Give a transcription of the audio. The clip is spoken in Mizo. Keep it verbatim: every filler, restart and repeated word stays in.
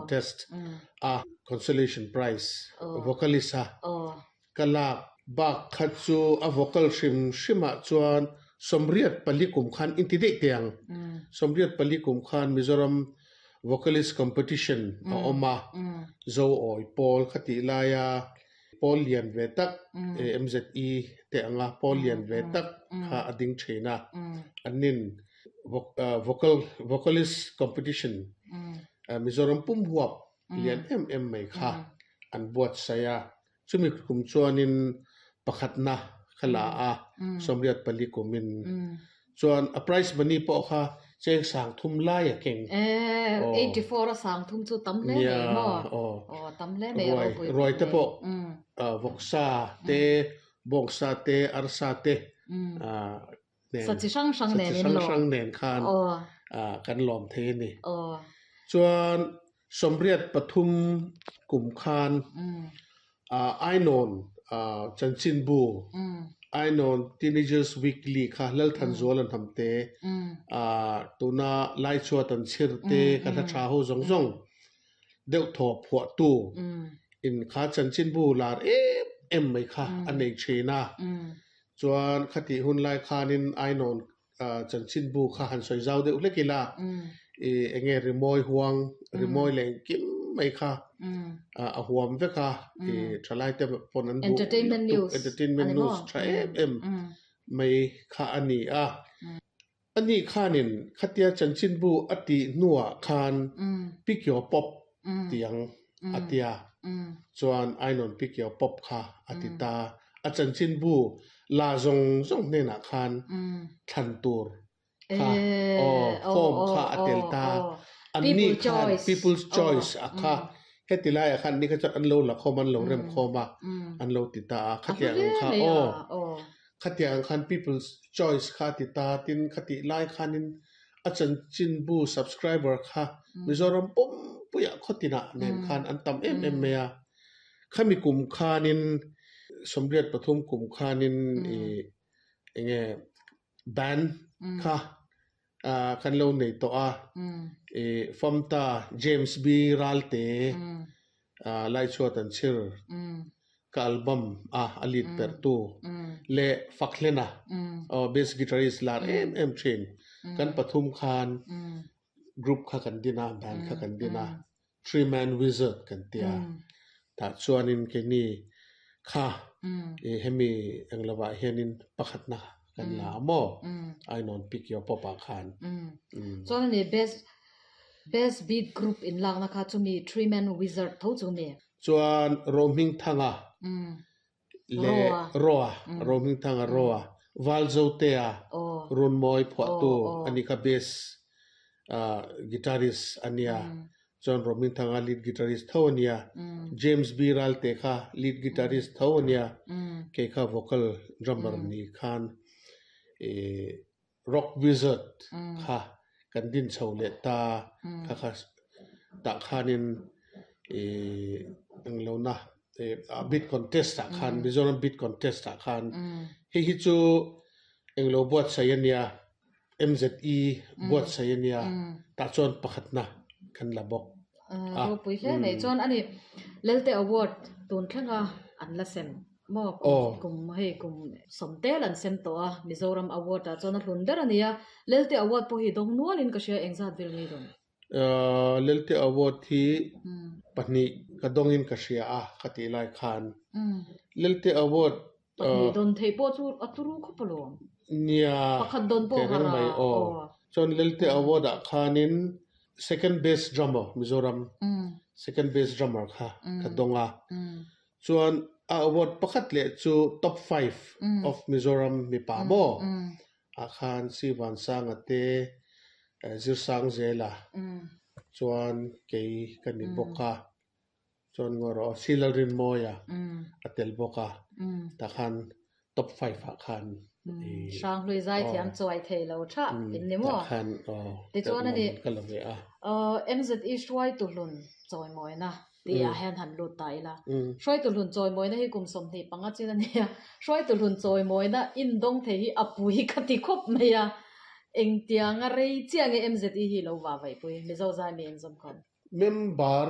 Contest a consolation prize vocalist a ka lak bak kha chu a vocal hrim hrimah chuan sawmriat pali kum khan inti daih teh ang. Sawmriat pali kum khan Mizoram Vocalist Competition a awm a, Zo Awi Pawl kha tih laia pawl lian ve tak M Z E te anga pawl lian ve tak kha a ding thin a. Annin vocal vocalist competition Mizoram pum huap lian em em mai kha an buatsaih a. Chumi kum chuanin pakhatna kha la a, sawmriat pali kumin. Chuan a prize money pawh kha cheng sang thum lai a keng. Eighty four a sang thum chu tam hle mai maw? Aw, tam hle mai. Ruai ruai te pawh vawksa te, bawngsa te, arsa te nen, sa chi hrang hrang nen, sa chi hrang hrang nen khan kan lawm thei a ni. Chuan sawmriat pathum kum khan Ainawn chanchinbu, Ainawn Teenagers Weekly kha Lalthanzual an ham te, tuna Laichhuat an chhir te, ka hla tha ho zawng zawng deuh thaw phuahtu in kha chanchinbu lar em em mai kha a nei thin a. Chuan khatih hun lai khanin Ainawn chanchinbu kha han sawi zau deuh hlek ila, enge rimawi huang, rimawi leh engkim mai kha a huam vek a, thalai te pawn an duh Entertainment news. Entertainment news tha em em mai kha a ni a. Ani khanin khatia chanchinbu a tih hnuah khan Pick Your Pop tiang a tia. Chuan Ainawn Pick Your Pop kha a ti ta. A chanchinbu la zawng zawng hnenah khan thlan tur kha form kha a tel ta. Anni khan People's Choice a kha heti laiah khan ni kha chuan an lo la khawm, an lo rem khawm a, an lo ti ta a. Khatiang ang kha aw, khatiang ang khan People's Choice kha a ti ta. Tin, khatih lai khanin a chanchinbu subscriber kha Mizoram pumpuiah khawtinah nen khan an tam em em mai a. Khami kum khanin, sawmriat pathum kum khanin, enge band kha kan lo nei tawh a. Famta James B Ralte, Laichhuat an chhir ka album a a lead pertu leh Fakhlena, bass guitarist lar em em thin, kan pathum khan group kha kan din a, band kha kan din a, Three Man Wizard kan tia. Tah chuanin keini kha hemi englovah hianin pakhatna kan la a maw, Ainawn Pick Your Pop ah khan. Chuan ani best best beat group in lakna kha chumi Three Man Wizard tho chu mi? Chuan Rohmingthanga le Roa, Rohmingthanga Roa, Valzotea, Runmawi phuahtu ani kha, bass guitarist ania. Chuan Rohmingthanga lead guitarist tho ania, James B Ralte kha lead guitarist tho ania, kei kha vocal drummer ni khan Rock Wizard kha kan din chho leh ta. Kha kha tah khanin englo na beat contest ah khan, Mizoram beat contest ah khan, hei hi chu englo buatsaih ania, M Z E buatsaih ania, tah chuan pakhatna kan la bawk. Ropui hle mai. Chuan ani Lelte Award tun thlenga an la sem maw? Kum hei kum sawmtel an sem tawh a, Mizoram Award ah chuan a hlun ber ani a. Lelte Award pawh hi dawng nualin ka hria, engzat vel nge dawn? Lelte Award hi pahnih ka dawngin ka hria a khatih lai khan. Lelte Award Pahnih dawn thei pawh chu a turu khawp alawm. Nia. Pakhat dawn pawh Tereng mai aw. Chuan Lelte Award ah khanin second best drummer, Mizoram second best drummer kha ka dawng a. Chuan a award pakhat leh chu top five of Mizoram mipa maw ah khan Sivan Sanga te, Zirsang Zela, chuan kei ka ni bawk a. Chuan ngawrh Silalrin Mawia a tel bawk a, tah khan top five ah khan. Hrang hlui zai thiam chuai thei lo tha in ni maw? Tah khan aw. Tichuan ani ka la ve a. M Z E hruai tu hlun chawimawina ti ah hian han lut ta ila. Hruai tu hlun chawimawina hi kum sawmhnih panga chin ania. Hruai tu hlun chawimawina in dawng thei hi a pui ka ti khawp mai a. Engtianga rei chiah nge M Z E hi lo wa vai pui Mizo zai mi in zawm khan? Member